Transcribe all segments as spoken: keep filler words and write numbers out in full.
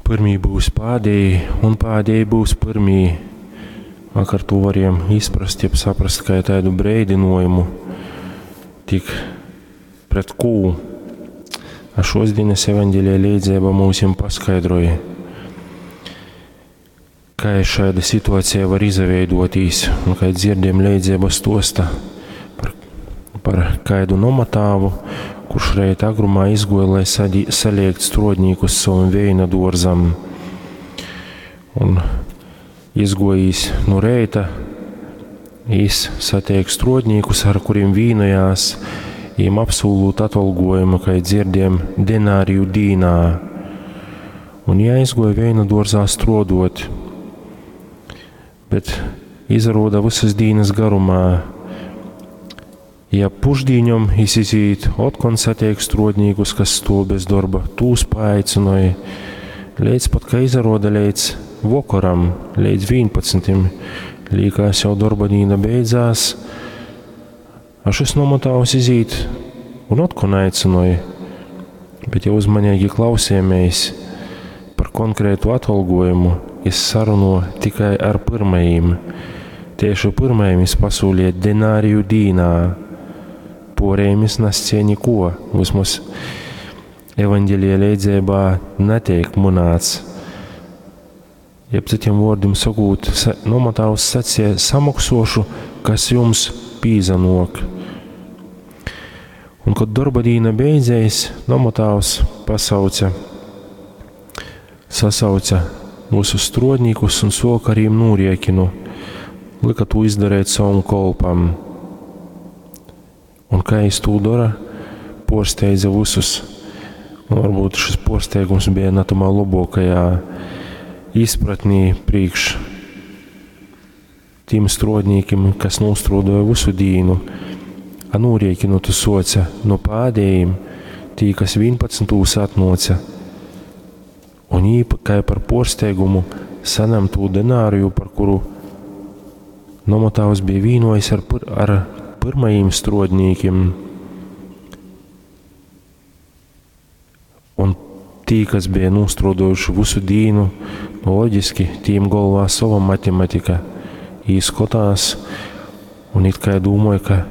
Pyrmī byus pādējī, un pādējī byus pyrmī. Vakar tū varējom izprast, jeb saprast kai taidu breidynuojumu, tik pret kū. A šuos dīnys evaņgelija leidzeiba myusim paskaidroj, kai šaida situaceja var izaveiduotīs, un kai dzierdējom, leidzeiba stuosta par, par kaidu nomatāvu, kurš reita agrumā izguoja, lai sadī, saliekt struodnīkus sovam veina duorzam. Un izguojis nu reita, jis sateik struodnīkus, ar kurim vīnojās, jim apsūlūt atolgojumu, kai dzierdējom, denāriju dīnā. Un jī aizguoja veina duorzā struoduot, bet izaroda vysys dīnys garumā. Ja pušdīņom jis izīt, otkon sateik struodnīkus, kas stuov bez dorba, tūs paaicynoj, leidz pat, ka izaroda leidz vokoram, leidz vīnpadsmitim, līkās jau dorba dīna beidzās, a šys nomatāvs izīt un otkon aicynoj, bet ja uzmaneigi klausījāmies par konkrētu atolgojumu, jis saruno tikai ar pyrmajim. Tieši pyrmajim jis pasūlīja denāriju dīnā, puorejim jis nascēja nikuo, vismaz evaņgelija leidzeibā nateik mynāts. Jeb cytim vuordim sokūt, nomatāvs sacīja, samoksuošu, kas jums pīzanok. Un, kod dorba dīna beidzēs, nomatāvs pasauca, sasauca visus struodnīkus un suoka ar jim nūriekinu, lyka tū izdarēt savam kolpam. Un kā jis tū dora, puorsteidza vysus. Un varbūt šis puorsteigums bija na tamā lobuokajā izpratnī prīkš tim struodnīkim, kas nūstruoduoja vysu dīnu. A nūriekinu tu suoce nu pādējim, tī, kas vīnpadsmitūs atnuoca. Un jī, kai par puorsteigumu, sanem tū denāriju, par kuru nomatāvs bija vīnojis ar, pyr, ar pyrmajim struodnīkim. Un tī, kas bija nūstruoduojuši vysu dīnu, nu, loģiski, tīm golvā sova matematika. Jī skotās un it kai dūmoja, ka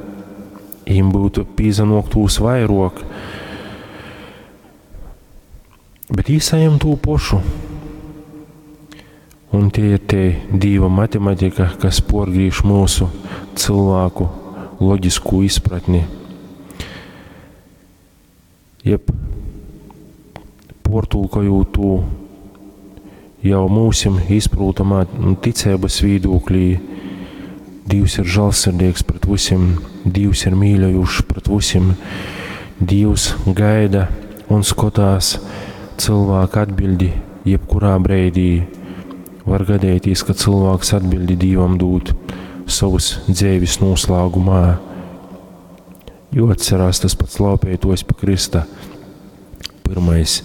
jim būtu pīzanoktūs vairuok. Bet jī sajem tū pošu. Un tie ir tie Dīva matematika, kas porgrīž mūsu cilvēku loģiskū izpratni. Jeb portulkojot tū jau mūsim izprūtamā ticības vīdūklī, Dīvs ir žālsirdīgs pret visiem, Dīvs ir mīļojušs pret visiem, Dīvs gaida un skatās cilvēka atbildi jebkurā breidī. Var gadēties, ka cilvēks atbildi Dīvam dūt savas dzeivis noslēgumā, jo atcerās tas pats laupētojs pie Krista. Pirmais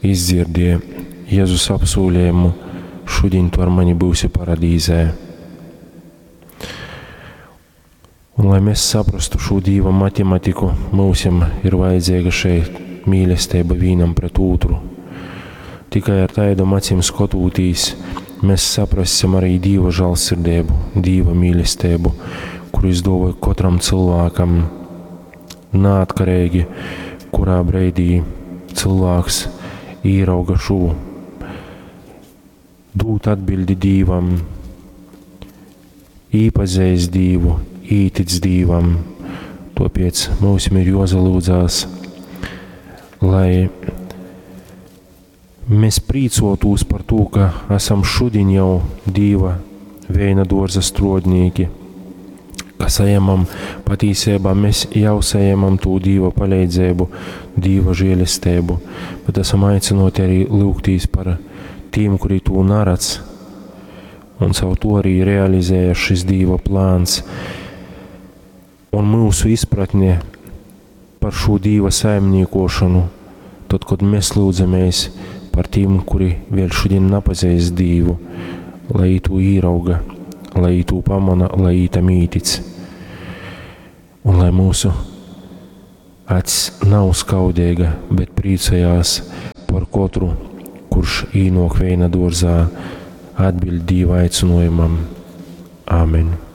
izdzirdīja Jēzus apsūlējumu, šodien tu ar mani būsi paradīzē. Un, lai mēs saprastu šo Dīva matematiku, mūsim ir vajadzīga šeit mīlestība vienam pret otru. Tikai ar tādām acīm skotūtīs, mēs saprassim arī Dīva žālsirdību, Dīva mīlestību, kuru izdāvāja katram cilvēkam, neatkarīgi, kurā breidī cilvēks īrauga šo. Dūt atbildi Dīvam, īpazīst Dīvu, ītic Dīvam. Tāpēc mums ir jozalūdzās, lai mēs prīcotūs par to, ka esam šodien jau Dīva veina dārza strodnīki, ka saņemam patīsībā, mēs jau saņemam to Dīva palīdzību, Dīva žēlestību, bet esam aicināti arī lūgtīs par tiem, kuri to neredz, un caur to arī realizējas šis Dīva plāns. Un mūsu izpratne par šo Dīva saimniekošanu, tad, kad mēs lūdzamies par tiem, kuri vēl šodien nepazīst Dīvu, lai to īrauga, lai to pamana, lai tam ītic. Un lai mūsu acs nav skaudīga, bet priecājās par katru, kurš īnōk veina dōrzā, atbiļd Dīva aicynōjumam. Āmen.